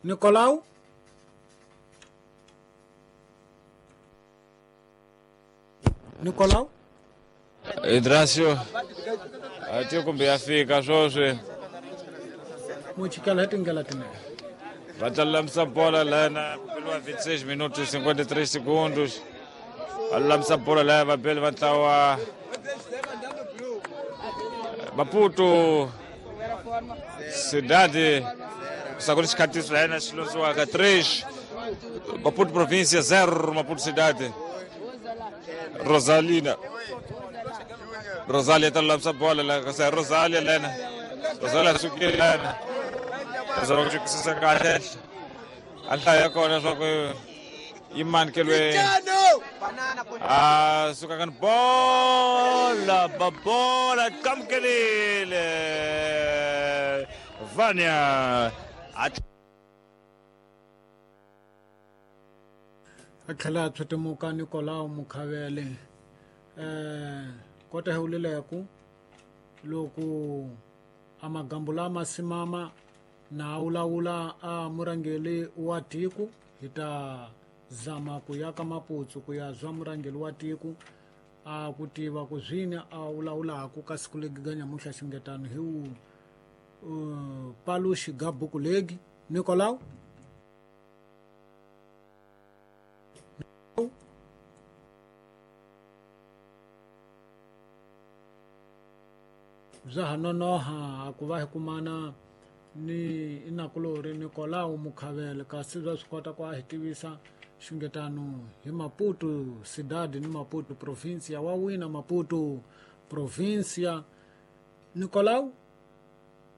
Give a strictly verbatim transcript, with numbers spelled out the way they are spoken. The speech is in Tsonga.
Nicolau Nicolau Idrasio ati kumbe ya fika swoswi muchikela hi tindlela tinene va ta lulamisa bola lana kupeliwa vinte e seis minutos cinquenta e três segundos va lulamisa bola laya vabeli va ntlawa Maputo Cidade sakuli xikhatiso layena xi londziwaka três Maputo província zero Maputo Cidade Rosalina Rosalia ta lulamisa bola la kasi Rosalia lena Rosalia sukile lena zama ku xikisisa kahle a nhlayo ya kona swa ku yi manikeliwe a suka ka bola babola kamukelile Vania a tlhela a tshwetimuka Nicolau Mukhavele eh kota hi wulileku loko a magambu lama simama na wulawula a murhangeri wa tiko hi ta zama ku ya ka Maputsu ku ya zwa murhangeri wa tiko a ku tiva ku zwini a wulawulaku ka siku legi ga nyamuntlha xingetano hi wu uh, paluxi ga buku legi Nicolau bya ha nonoha ku va hi kumana ni inakulori Nicolau Mukhavele kasi bya swi kota ku a hi tivisa xingetano hi Maputo Cidade ni Maputo província wa wina Maputo província Nicolau.